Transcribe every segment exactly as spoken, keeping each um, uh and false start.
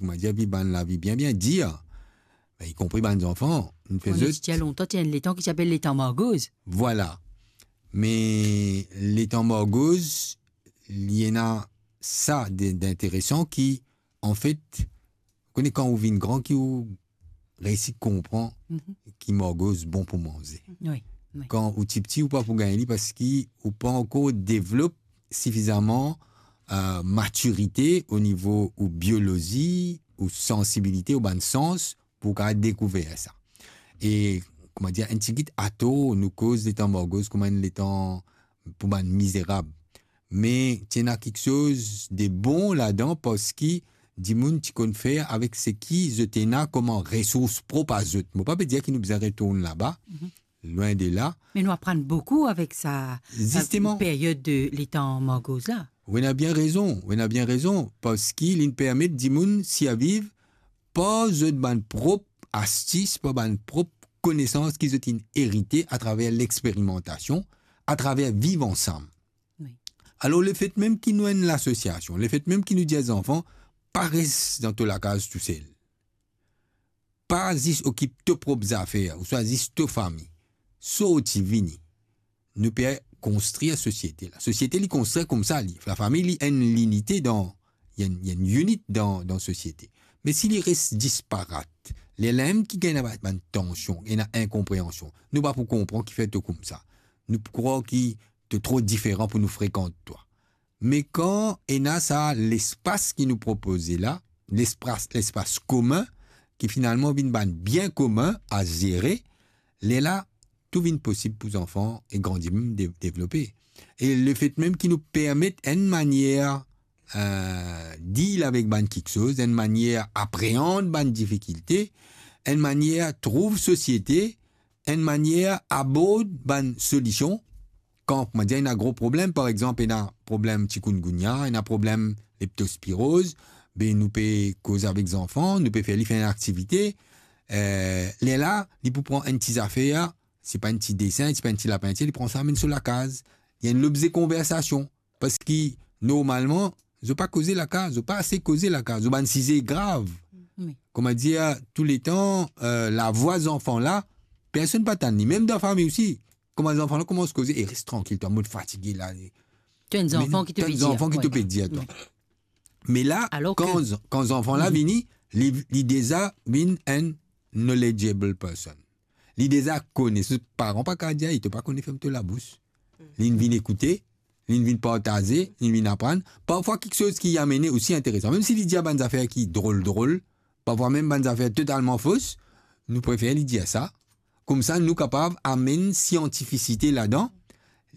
kouma dir, viv bann lavi bien, bien dir. Me, ikonpri bann zanfan, nou fer zot. Ti ena lontan, ti ena letan ki ti apel letan margoz. Vwala. Me letan margoz, li ena sa de, d'interesan ki, anfet, kone kan ou vinn gran ki ou reysi konpran ki margoz bon pou manze. Wi, wi. Kan ou tipti, ou pa pou gagn li parski ou pa ankor devlop sifizaman, eh, matirite o nivo ou biolozi, ou sansibilite, ou bann sans, pou ou kapav dekouver sa. E, kouma dir, enn tigit ator, nou koz letan margoz kouma enn letan pou bann mizerab. Me ti ena kiksoz de bon ladan, parski dimoun ti konn fer avek seki zot ena kouma resours prop a zot. Mo pa pe dir ki nou bizin retourn laba, lwin de la. Me nou aprann boukou avek sa, sa peryod de letan margoz la. Ou ena bien rezon, ou ena bien rezon, parski li permet dimoun sirviv par zot bann prop astis, par bann prop konesans ki zot inn erite atraver lexperimantasion, atraver viv ansam. Wi. Alor, lefet mem ki nou enn lasosiasion, lefet mem ki nou dir zanfan, pa res dan to lakaz tousel. Pa zis okip to prop zafer, ouswa zis to fami. Sorti, vini. Nou pe konstrir sosiete la. Sosiete, li konstrir koumsa, li. Lafami, li enn linite dan, li enn, li enn unit dan, dan sosiete. Me si li res disparat, lerla mem ki gagn bann, bann tansion, ena inkonpreansion. Nou pa pou konpran kifer to koumsa. Nou pou krwar ki to tro diferan pou nou frekant twa. Me kan ena sa lespas ki nou propoze la, lespas, lespas komin, ki finalman vinn bann bien komin a zere, lerla tou vinn posib pou zanfan e gran dimoun de-, devlope. E lefet mem ki nou permet enn manier, eh, deal avek bann kiksoz, enn manier apreand bann difikilte, enn manier trouv sosiete, enn manier abord bann solision. Kan, kouma dir, ena gro problem, par exanp, ena problem chikungunya, ena problem leptospiroz, be nou pe koz avek zanfan, nou pe fer li fer enn aktivite. Eh, lerla, li pou pran enn ti zafer, se pa enn ti desin, se pa enn ti lapintir, li pran sa, amenn so lakaz. Li enn lobze konversasion. Parski, normalman, zot pa koze lakaz, zot pa ase koze lakaz, zot bann size grav. Wi. Kouma dir, touletan, eh, lavwa zanfan la, personn pa tann li, mem dan fami osi. Kouma zanfan la koumans koze, "E, res trankil, twa, mo fatige la." To enn zanfan ki to pe dir, zanfan ki to pe dir, twa. Wi. Me la, alor kan ke z-, kan zanfan la vini, li, li deza vinn enn knowledgeable person. Li deza kone, so paran pa kapav dir, "E, to pa kone, ferm to labous." Li vinn ekoute, li vinn partaze, li vinn aprann. Parfwa kiksoz ki li amene osi interesan. Mem si li dir bann zafer ki drol drol, parfwa mem bann zafer totalman fos, nou prefer li dir sa. Koumsa, nou kapav amenn siantifisite ladan.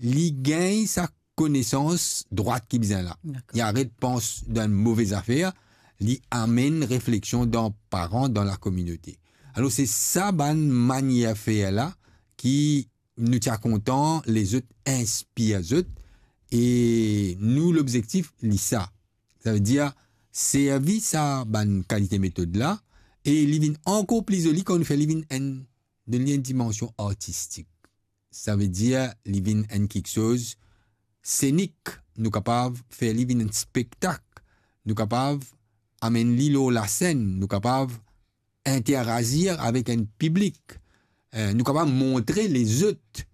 Li gagn sa konesans drwat ki bizin la. Dakor. Li aret pans dan move zafer, li amenn refleksion dan paran, dan lakominote. Alor, se sa bann manier fer la ki nou ti a kontan lezot inspir zot, e nou lobzektif li sa. Savedir, servi sa bann kalite metod la, e li vinn ankor pli zoli kan nou fer li vinn enn, donn li enn dimansion artistik. Savedir, li vinn enn kiksoz senik, nou kapav fer li vinn enn spektak, nou kapav amenn li lor lasenn, nou kapav interazir avek enn piblik, eh, nou kapav montre lezot,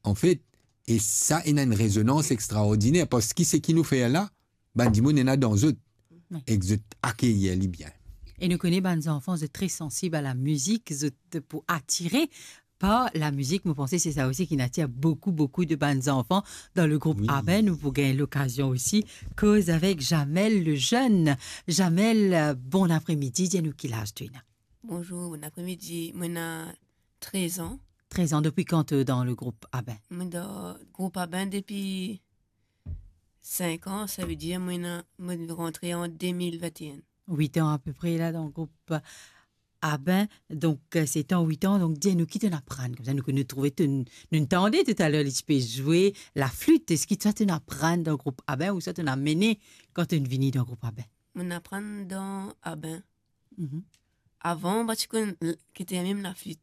anfet, e sa ena enn rezonans extraordiner, parski seki nou fer la, bann dimoun ena dan zot, wi, ek zot akeyir li bien. E nou kone bann zanfan, zot tre sansib a lamizik, zot pou atire par lamizik. Mo panse se sa osi ki atir boukou, boukou de bann zanfan dan le group, wi, Aben. Nou pou gagn lokazion osi koz avek Jamel Lejeune. Jamel, eh, bon apremidi, dir nou ki laz to ena. Bonzour, bon apremidi. Mo ena trez an. Trez an, depi kan to dan le group Aben? Mo dan group Aben depi sink an, savedir mo ena, mo rantre an de mil vinte e enn. Wit an apepre la dan group Aben, donk, eh, se tan wit an, donk dir nou ki to'nn aprann, koumsa nou, nou trouve to, nou tande toutaler li ti pe zwe laflit, eski sa to'nn aprann dan group Aben ou sa to'nn amene kan to'nn vini dan group Aben? Mo'nn aprann dan Aben. Mhm. Avan, mo pa ti konn l-, ki ti ena mem laflit.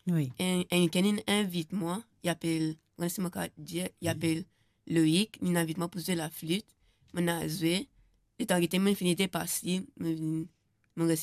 Wi. Enn, enn kikenn inn invit mwa, li apel, mo pa kone si mo kapav dir, li apel Loïc, li'nn invit mwa pou zwe laflit. Mo'nn al zwe, letan gete mo'nn fini depas li, mo vinn, mo res